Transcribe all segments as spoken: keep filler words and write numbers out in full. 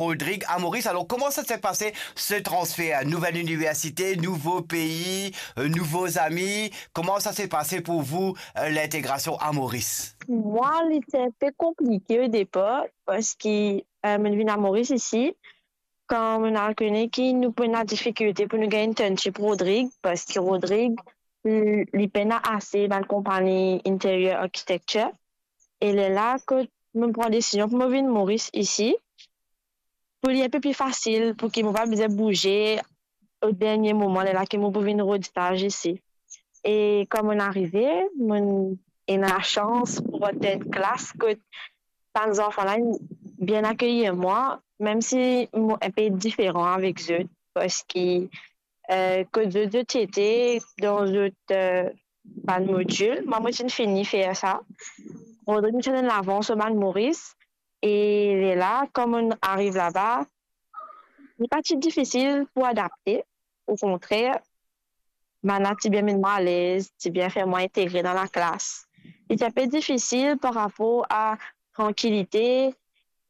Rodrigue à Maurice. Alors, comment ça s'est passé, ce transfert ? Nouvelle université, nouveau pays, euh, nouveaux amis. Comment ça s'est passé pour vous, euh, l'intégration à Maurice ? Mwa, li ti inpe konplike o depar, parski, eh, mo'nn vinn a Moris isi, kan mo'nn al kone ki nou pou ena difikilte pou nou gagn internship Rodrigue, parski Rodrigue, li, li pena ase bann konpagni interior architecture. E lerla kot mo'nn pran desizion pou mo vinn Moris isi, pou li inpe pli fasil, pou ki mo pa bizin bouze o dernie moman, lerla ki mo pou vinn rod staz isi. E kan mo'nn arive, mo'nn ena lasans pou rant dan enn klas kot bann zanfan la bien akeyir mwa, mem si mo inpe diferan avek zot, parski, eh, kot zot, zot ti ete dan zot, eh, bann modil, mwa, mo ti'nn fini fer sa. Rodrigue, mo ti ena lavans lor bann Moris, e lerla, kan mo'nn ariv laba, li pa ti difisil pou adapte, okontrer, bann la ti bien met mwa alez, ti bien fer mwa integre dan laklas. Li ti inpe difisil par rapor a trankilite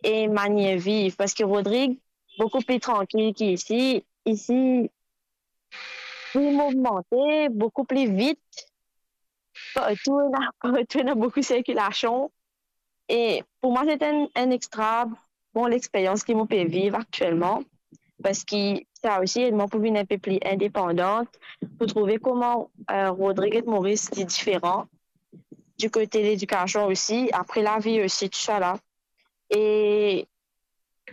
e manier viv, parski Rodrigue boukou pli trankil ki isi. Isi, pou movmante boukou pli vit, partou ena, partou ena boukou sirkilasion. E pou mwa, se enn, enn extra bon lexperyans ki mo pe viv aktielman, parski sa osi ed mwa pou vinn inpe pli indepandan, pou trouve kouma, eh, Rodrigue et Moris li diferan di kote ledikasion osi, apre lavi osi, tousala. E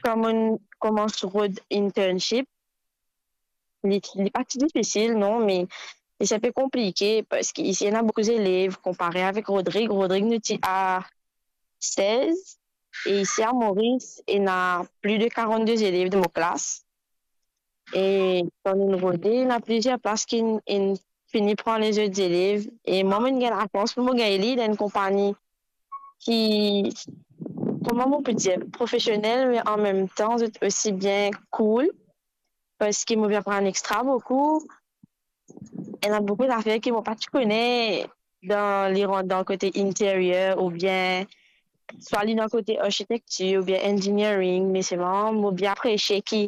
kan mo'nn koumans rod internship, li, li pa ti difisil, non, me li ti inpe konplike, parski isi ena boukou zelev, konpare avek Rodrigue. Rodrigue, nou ti a sez, e isi a Moris, ena pli de karannde zelev dan mo klas. E kan nou rode, ena plizier plas ki inn, inn fini pran lezot zelev. E mwa, mo'nn gagn lasans pou mo gagn li dan enn konpagni ki, kouma mo pe dir, profesionel, me an mem tan, zot osi bien cool, parski mo pe aprann extra boukou. Ena boukou zafer ki mo pa ti kone dan li rant dan kote interior oubien swa li dan kote arkitektir oubien engineering, me selman mo bien apresie ki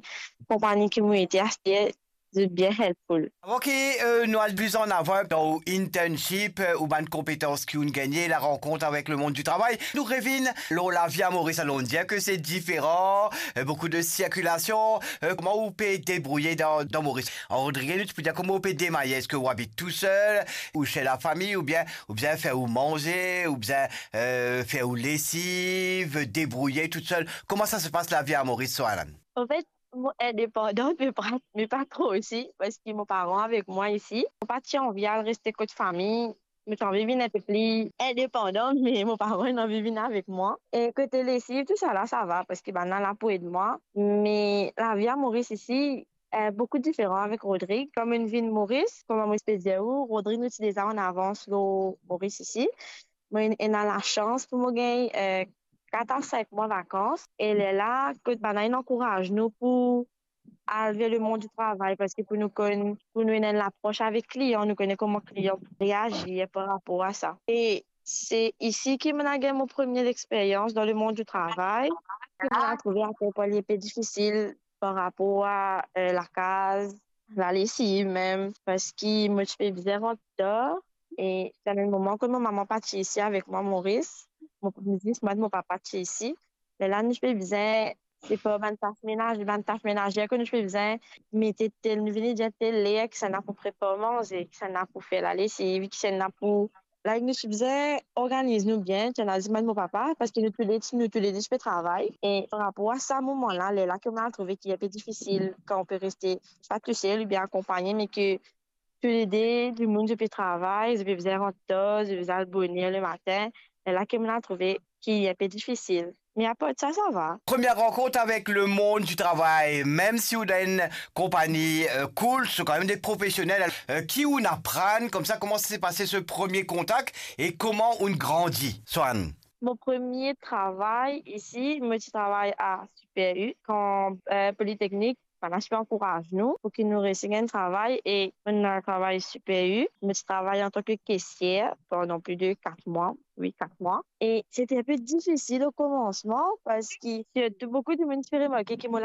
konpagni ki mo ete aster, zot bien helpful. Avan ki, eh, nou al plis an avan dan ou internship, eh, ou bann konpetans ki ou'nn gagne, la rankont avek lemond di travay, nou revinn lor lavi a Moris. Alor, ou'nn dir ke se diferan, eh, boukou de sirkilasion, eh, kouma ou pe debrouye dan, dan Moris? An Rodrigue, nou ti pou dir kouma ou pe demaye, eski ou abit tousel, ou se lafami, oubien, oubien fer ou manze, oubien, eh, fer ou lesiv, debrouye tousel? Kouma sa se pas lavi a Moris, Soann? Anfet, mo indepandan, me pa, me pa tro osi, parski mo paran avek mwa isi. Mo pa ti anvi al reste kot fami, mo ti anvi vinn inpe pli indepandan, me mo paran inn anvi vinn avek mwa. E kote lesiv, tousala, sava, parski bann la la pou ed mwa. Me lavi a Moris isi, eh, boukou diferan avek Rodrigue. Kan mo'nn vinn Moris, kouma mo ti pe dir ou, Rodrigue, nou ti deza an avans lor Moris isi. Mo ena lasans pou mo gagn, eh, kat a sink mwa vakans. E lerla, kot bann la inn ankouraz nou pou al ver lemond di travay, parski pou nou konn, pou nou ena enn lapros avek klian, nou kone kouma klian pou reazir par rapor a sa. E se isi ki mo'nn al gagn mo premie lexperyans dan lemond di travay, ki mo'nn al trouve akel pwa li pe difisil par rapor a, eh, lakaz, lalesiv mem, parski mo ti pe bizin rant tar, e ti ena enn moman kot mo mama pa ti isi avek mwa Moris, mo, zis mwa ek mo papa ti isi. Lerla nou ti pe bizin separ bann tas menaze, bann tas menaze kot nou ti pe bizin mete tel, nou vinn dir tel ler, kisannla pou prepar manze, kisannla pou fer lalesiv, kisannla pou, like, nou ti bizin organiz nou bien, ti ena zis mwa ek mo papa, parski nou toule, nou toulede ti pe travay. E par rapor a sa moman la, lerla ki mo'nn al trouve ki inpe difisil kan ou pe reste swa tousel oubien akonpagne, me ki toulede dimoun zot pe travay, zot pe bizin rant tar, zot pe bizin al boner lematin, lerla ki mo'nn al trouve ki inpe difisil. Me apar sa, sava. Premie rankont avek lemond di travay, mem si ou dan enn konpagni, eh, cool, se kanmem de profesionel, eh, ki ou'nn aprann koumsa, kouma sa se pase se premie kontak e kouma ou'nn grandi, Soann? Mo premie travay isi, mo ti travay a Super U, kan, eh, Politeknik, bann la ti pe ankouraz nou pou ki nou resi gagn travay, e mo'nn al travay Super U. Mo ti travay antan ke kesier pandan plis de kat mwa, wi, kat mwa. E sete inpe difisil o koumansman, parski sirtou boukou dimoun ti pe remarke ki mo